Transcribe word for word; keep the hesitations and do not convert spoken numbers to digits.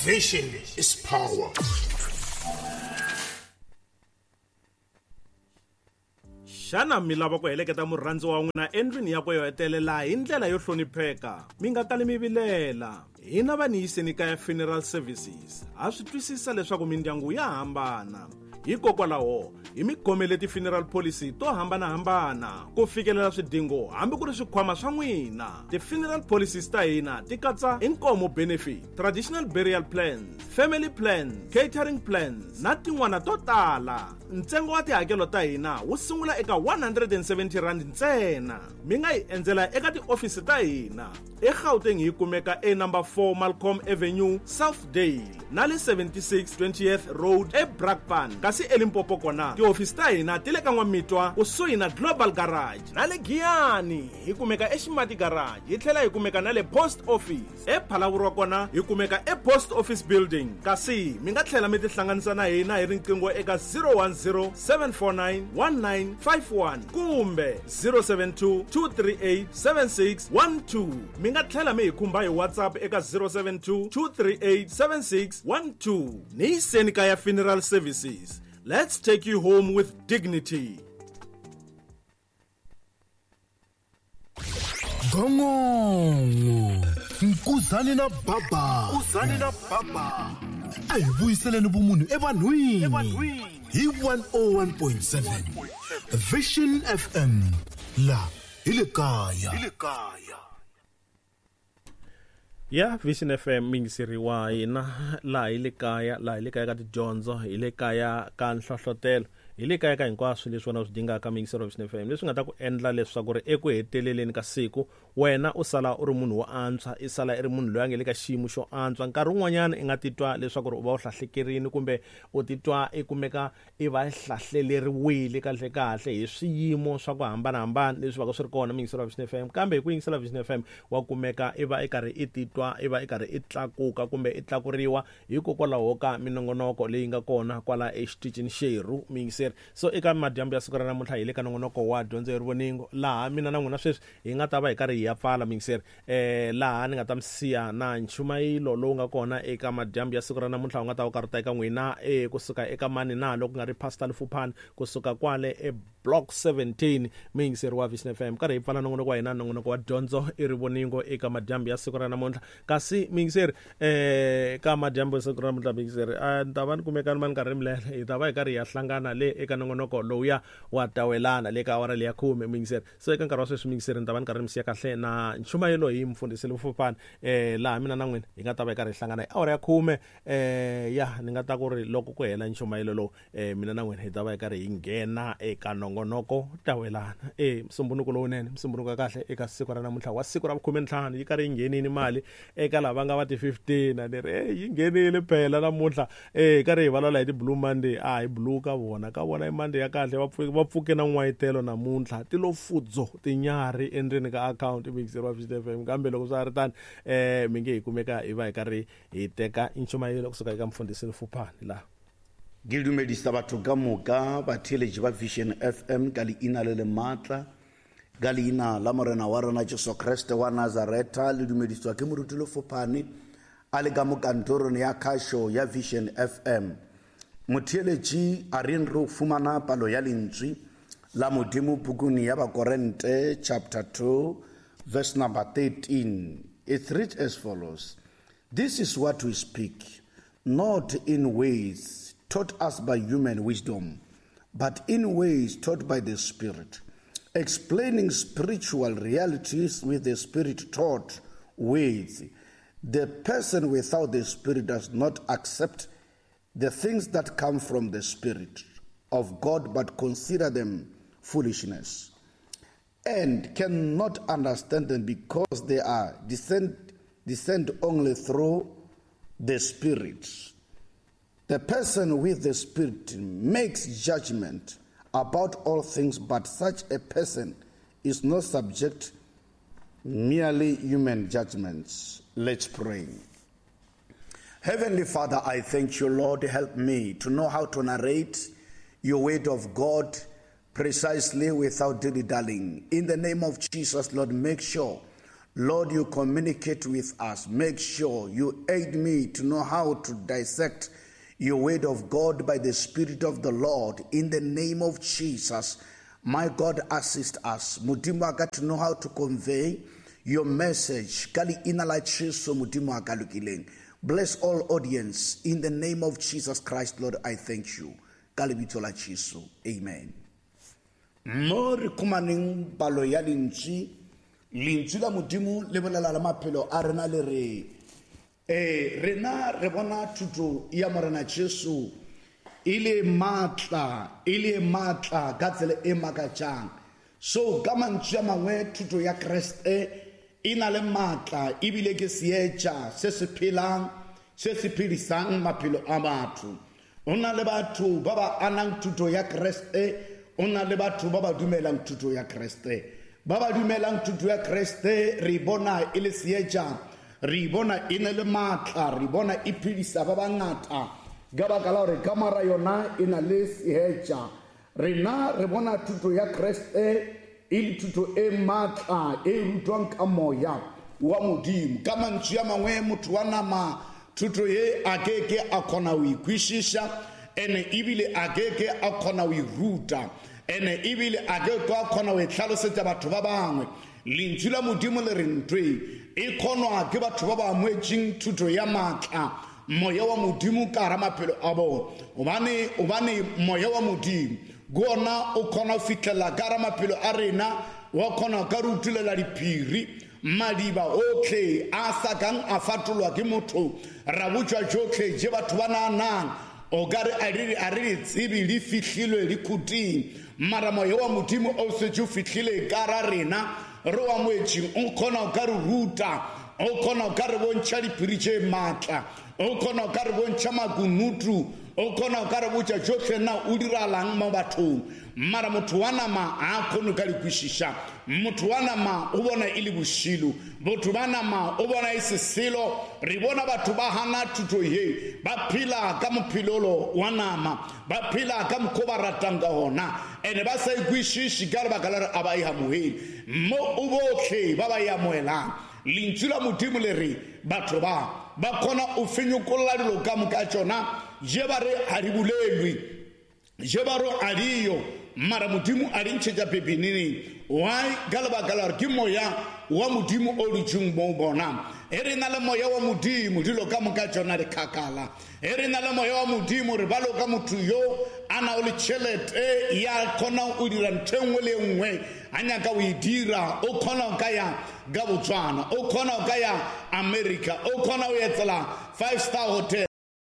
Vision is power. Xana mi lava ku heleketa murhandzi wa n'wina endlwini yakwe yo hetelela hi ndlela yo hlonipheka? Mi nga kali mi vilela. Hina va Niyiseni Kaya Funeral Services ha swi twisisa leswaku mindyangu ya hambana. Hikokwalaho hi mi khomele ti-funeral policy to hambanahambana ku fikelela swidingo hambi ku ri swikhwama swa n'wina. Ti-funeral policies ta hina ti katsa inkomo benefit, traditional burial plans, family plans, catering plans na tin'wana to tala. Ntsengo wa tihakelo ta hina wu sungula eka one hundred and seventy rand ntsena. Mi nga hi endzela eka tiofisi ta hina eGauteng hi kumeka e number four Malcolm Avenue, Southdale na le seventy-six twentieth Road eBrakpan. Kasi eLimpopo kona tihofisi ta hina ti le ka N'wamitwa kusuhi na Global Garage na le Giyani hi kumeka eXimati Garage, hi tlhela hi kumeka na le Post Office. ePhalaborwa kona hi kumeka ePost Office Building. Kasi mi nga tlhela mi tihlanganisa na hina hi riqingho eka zero one zero seven four nine one nine five one kumbe zero seven two two three eight seven six one two. Mi nga tlhela mi hi khumba hi WhatsApp eka zero seven two two three eight seven six one two. Niyiseni Kaya Funeral Services. Let's take you home with dignity. Gongongo Nkuzani na Baba. Nkuzani na Baba. A hi vuyiseleni vumunhu evanhwini hi one oh one point seven Vision F M la hi le kaya. Hi le kaya. Ya Vision F M mingiseriwa hina laha hi le kaya, laha hi le kaya ka tidyondzo, hi le kaya ka nhlohlotelo, hi le kaya ka hinkwaswo leswi wena u swi dingaka mingisero wa Vision F M, leswi nga ta ku endla leswaku ri eku heteleleni ka siku wena u sala u ri munhu wo antswa, i sala i ri munhu loyi a nge le ka xiyimo xo antswa. Nkarhi wun'wanyana i nga titwa leswaku ri u va u hlahlekerile kumbe u titwa i kumeka i va hlahleleriwile kahle kahle hi swiyimo swa ku hambanahambana leswi va ka swi ri kona mingisero wa Vision F M. Kambe hi ku yingisela Vision F M wa kumeka i va i karhi i titwa i va i karhi i tlakuka kumbe i tlakuriwa hikokwalaho ka minongonoko leyi nga kona kwala exitichini xerhu mingiseri. So eka madyambu ya siku ra namuntlha hi le ka nongonoko wa dyondzo ya rivoningo, laha mina na n'wina sweswi hi nga ta va hi karhi hi ya pfala mingiseri, eh laha ni nga ta mi siya na nchumayelo lowu nga kona eka madyambu ya siku ra namuntlha wu nga ta wu karhi ta eka n'wina eh kusuka eka mani na loko ku nga ri Pastor Lefupane kusuka kwale e Block seventeen mingiseri wa Vision F M. Karhi hi pfala nongonoko wa hina, nongonoko wa dyondzo i rivoningo eka madyambu ya siku ra namuntlha. Kasi mingiseri eh ka madyambu ya siku ra namuntlha mingiseri a ni ta va ni kumeka ni karhi mi hi ta va hi karhi hi ya hlangana le eka nongonoko lowuya wa tawelana le ka awara leya khume mingiseri. So eka nkarhi wa sweswi mingiseri ni ta va ni karhi mi siya kahle na nchumayelo hi mfundhisi Lefupane eh laha mina na n'wina hi nga ta va hi karhi hi hlangana hi awara ya khume eh ya ni nga ta ku ri loko ku hela nchumayelo lowu eh mina na n'wina hi ta va hi karhi hi nghena eka nongonoko tawelana. Eh msumbunuko lowunene, msumbunuko wa kahle eka siku ra namuntlha wa siku ra vukhume ntlhanu yi karhi yi nghenini mali eka lava nga va ti fifteen a ni ri eh yi nghenile phela namuntlha eh karhi hi vulavula hi ti Blue Monday. A hi blue ka vona ka vona i Monday ya kahle, va pfuke va pfuke na n'wayitelo namuntlha ti lo fudzo tinyarhi endzeni ka account mixer wa Vision F M. Kambe loko swa ha ri tani eh mi nge hi kumeka hi va hi karhi hi teka nchumayelo kusuka eka mfundhisi Lefupane laha. Ke dumedisa batho ka moka batheeletši ba Vision F M ka leina le le maatla, ka leina la Morena wa rena Jesu Kriste wa Nazareta. Le dumediswa ke moruti Lefupane a le ka mo kantorong ya khašo ya Vision F M. Motheeletši a reng re fumana palo ya lentswe la Modimo pukung ya Bakorente chapter two verse number thirteen. It reads as follows: This is what we speak, not in ways taught us by human wisdom, but in ways taught by the Spirit, explaining spiritual realities with the Spirit taught ways. The person without the Spirit does not accept the things that come from the Spirit of God, but consider them foolishness, and cannot understand them because they are descend, descend only through the Spirit. The person with the Spirit makes judgment about all things, but such a person is not subject merely human judgments. Let's pray. Heavenly Father, I thank you, Lord. Help me to know how to narrate your word of God precisely without dilly-dallying. In the name of Jesus, Lord, make sure, Lord, you communicate with us. Make sure you aid me to know how to dissect your word of God by the Spirit of the Lord. In the name of Jesus, my God, assist us. Modimo wa ka, to know how to convey your message. Ka leina la Jesu, Modimo wa ka lokileng. Bless all audience. In the name of Jesus Christ, Lord, I thank you. Ka lebitso la Jesu. Amen. Mo re khumaneng palo ya lentswe, lentswe la Modimo le bolela le maphelo a rena le re, eh, rena re bona thuto ya Morena Jesu e le matla, e le matla ka tsela e makatsang. So ka mantswe a mangwe, thuto ya Kreste e na le matla, ebile ke seetša se se phelang, se se phedisang maphelo a batho. O na le batho ba ba anang thuto ya Kreste, o na le batho ba ba dumelang thuto ya Kreste. Ba ba dumelang thuto ya Kreste re bona e le seetša, re bona e na le matla, re bona e phedisa ba bangata ka baka la hore kamara yona e na le seetša. Rena re bona thuto ya Kreste e le thuto e matla e rutwang ka moya wa Modimo. Ka mantswe a mangwe, motho wa nama thuto ye a keke a kgona ho ikwešiša, ene ebile a keke a kgona ho e ruta, ene ebile a keke a kgona ho e hlalosetsa batho ba bangwe. Lentswe la Modimo le re ntho e e kgonwa ke batho ba ba amohetseng thuto ya matla, moya wa Modimo ka hara maphelo a bona. Hobane, hobane moya wa Modimo ke ona o kgona ho fihlela ka hara maphelo a rena, wa kgona ka re utulela diphiri, madiba otlhe a sa kang a fatolwa ke motho, ra botswa tsotlhe je batho ba nahanang o ka re a re, a re di tsebe di fihlilwe di khuting. Mara moya wa Modimo o setse o fihlile ka hara rena, re o amohetseng, o kgona ho ka re ruta, o kgona ho ka re bontšha diphiri tše matla, o kgona ho ka re bontšha makunutu, o kgona ho ka re botša tšohle na o diralang mo bathong. Mara motho wa nama ha kgone ka di kwešiša. Motho wa nama o bona e le bošilo, botho ba nama o bona e se selo. Re bona batho ba hana thuto ye, ba phela ka mophelolo wa nama, ba phela ka mokgwa ba ratang ka hona, ene ba sa ikwešiše ka lebaka la re a ba e amohele. Mo o botlhe ba ba e amohelang, lentswe la Modimo le re batho ba ba kgona ho fenyokolla dilo ka moka tšona, je ba re ha di bolelwe, je ba re a diyo, mara Modimo a di ntšhetša pepeneneng. Why? Ka lebaka la hore ke moya wa Modimo o dutseng mo bona. E re na le moya wa Modimo, dilo ka moka tšona di kgakala. E re na le moya wa Modimo, re balo ka motho yo a nang le tšhelete ya kgonang ho dira ntho e nngwe le e nngwe a nyaka ho e dira, o kgona ho ka ya ka Botswana, o kgona ho ka ya America, o kgona ho etsela five star hotel.